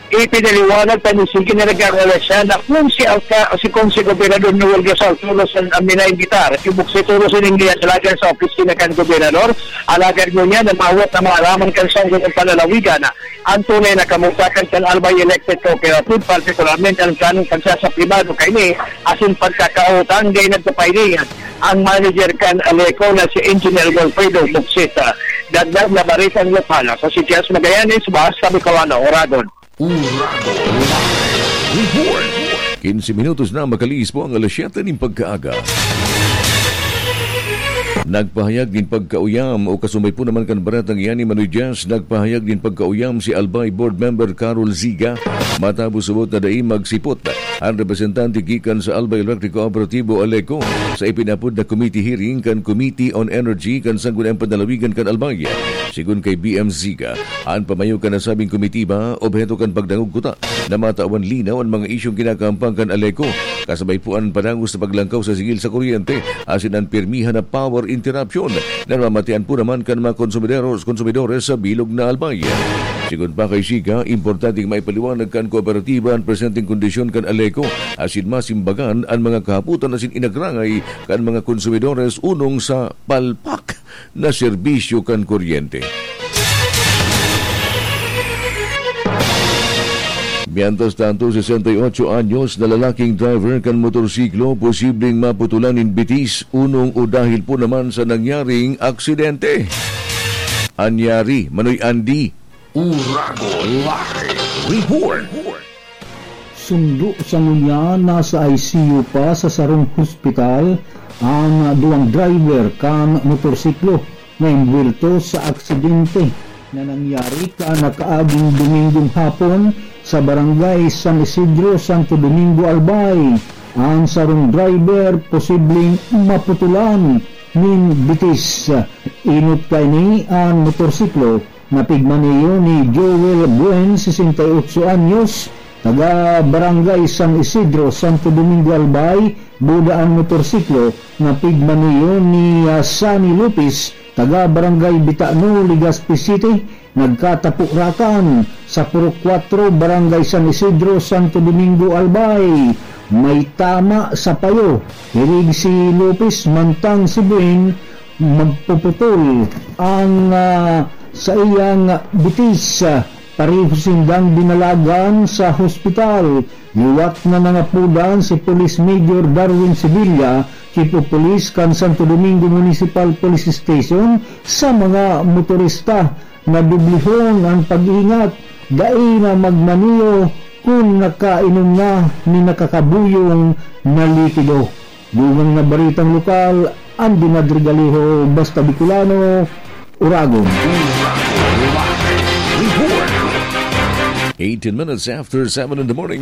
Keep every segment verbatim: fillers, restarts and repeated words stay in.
Ipinaliwanag pa ni Sige na nagkakalasya na kung si Alca-, si, kung si Gobernador Noel Gasol tulos an, an minaimbita, si Buksit tulos an iniyadalagan sa opisina kan Gobernador, alagad ngunyan namawat na maaraman kan sanggol ng panlalawigan an tunay na kamugtakan kan Albay Electric Cooperative, partikularmente an planong pagsasapribado kaini asin pagkakautang. Dai nagpapahiling an manager kan Aleco na si Engineer Wilfredo Buksita. Dagdag na baritang lokal, ako si Jess Magallanes, Basta Bicolano, Oragon. Uragon Live Report. Quince minutos na makaliis po ang alas siyete nin pagkaaga. Nagpahayag nin pagkauyam o kasumay po naman kan baretang iyan ni Manoy Jazz, nagpahayag nin pagkauyam si Albay Board Member Carol Ziga matapos subot na dai magsipot an representante gikan sa Albay Electric Cooperatibo, Aleco, sa ipinapod na committee hearing kan Committee on Energy kan Sangguniang Panlalawigan kan Albay. Sigon kay B M Ziga, an pamayo kan nasabing komitiba, obheto kan pagdangog kuta na matawan linaw an mga isyong kinakahampang kan Aleco, kasabay po an padagos na paglangkaw sa sigil sa kuryente, asin an pirmihan na power interruption na namamatean po naman kan mga konsumidero-, konsumidores sa bilog na Albay. Sigon pa kay Ziga, importanteng maipaliwanag kan kooperatiba an presenteng kondisyon kan Aleco, asin masimbagan an mga kahapotan asin inagrangay kan mga konsumidores unong sa palpak na serbisyo kan kuryente. Mientras tanto, sesenta y ocho anyos na lalaking driver kan motorsiklo posibleng maputulan nin bitis, unong o dahil po naman sa nangyaring aksidente. Anyari, Manoy Andy. Uragon Live Report. Sundo sa ngunyan, nasa I C U pa sa sarong hospital an duwang driver kan motorsiklo na imbuwelto sa aksidente na nangyari kan nakaaging Domingong hapon sa Barangay San Isidro, Santo Domingo, Albay. Ang sarong driver posibleng maputulan nin bitis. Inot kaini an motorsiklo na pigmaneho ni Joel Buen, sesenta y ocho anyos, taga Barangay San Isidro, Santo Domingo, Albay, buda an motorsiklo na pigmaneho ni, ah, Sunny Lopez, taga Barangay Bitano, Legazpi City, nagkatapurakan sa Purok Kwatro, Barangay San Isidro, Santo Domingo, Albay. May tama sa payo, hirig si Lopez, mantang si Buen magpuputol ang, ah, saiyang bitis. Pareho sindang dinalagan sa hospital. Liwat na nangapodan si Police Major Darwin Sevilla, Chief of Police kan Santo Domingo Municipal Police Station, sa mga motorista na dublihon ang pag-iingat, dai na magmaneho kun nakainom na nin nakakabuyong na likido. Dugang na baritang lokal, Andy Madrigalejo, Basta Bicolano, Uragon. Eighteen minutes after seven in the morning.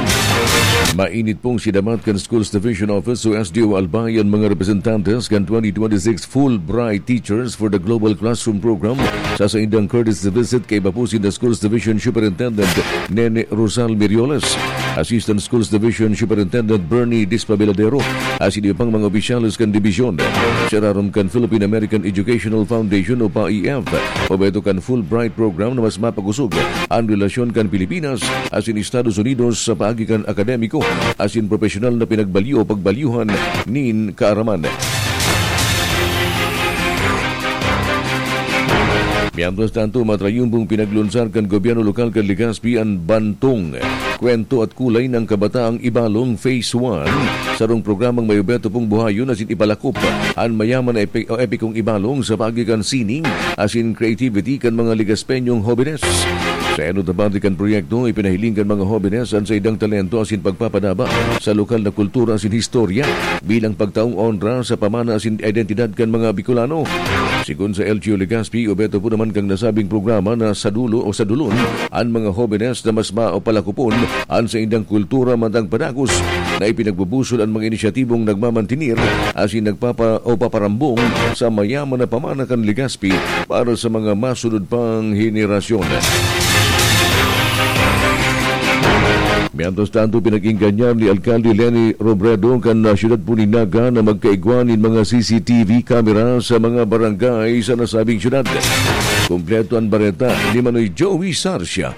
Mainit pong sinabat kan Schools Division Office o S D O Albay an mga representantes kan twenty twenty-six Fulbright Teachers for the Global Classroom Program sa saindang courtesy visit kaiba po sinda Schools Division Superintendent Nene Rosal Mirioles, Assistant Schools Division Superintendent Bernie Dispabiladero, asin iba pang mga opisyales kan dibisyon. Sa irarom kan Philippine-American Educational Foundation o PAEF, obheto kan Fulbright Program na mas mapagusog an relasyon kan Pilipinas asin Estados Unidos sa paagi kan akademiko asin propesyonal na pinagbalyo o pagbalyuhan nin kaaraman. Mientras tanto, matrayumbong pinaglunsar kan gobyerno lokal kan Legazpi an Bantong, Kwento at Kulay ng Kabataang Ibalong Phase one, sarong programang may obheto pong buhayon asin ipalakop an mayaman na epi-, o epikong Ibalong sa paagi kan sining asin creativity kan mga Legazpeñong hobenes. Sa enot na parte kan proyekto, ipinahiling kan mga hobenes an saindang talento asin pagpapadaba sa lokal na kultura asin historia bilang pagtaong onra sa pamana asin identidad kan mga Bicolano. Sigon sa L G U Legazpi, obheto po naman kan nasabing programa na sa dulo o sa dulon an mga hobenes na mas mapalakopon an saindang kultura mantang padagos na ipinagbubusol an mga inisyatibong nagmamantinir asin nagpapa-, o paparambong sa mayaman na pamana kan Legazpi para sa mga masunod pang henerasyon. Mientras tanto, pinag-ingganyan ni Alkalde Leni Robredo kan, ah, siyudad po nin Naga na magkaigwa nin mga C C T V camera sa mga barangay sa nasabing siyudad. Kompleto an bareta ni Manoy Joey Sarcia.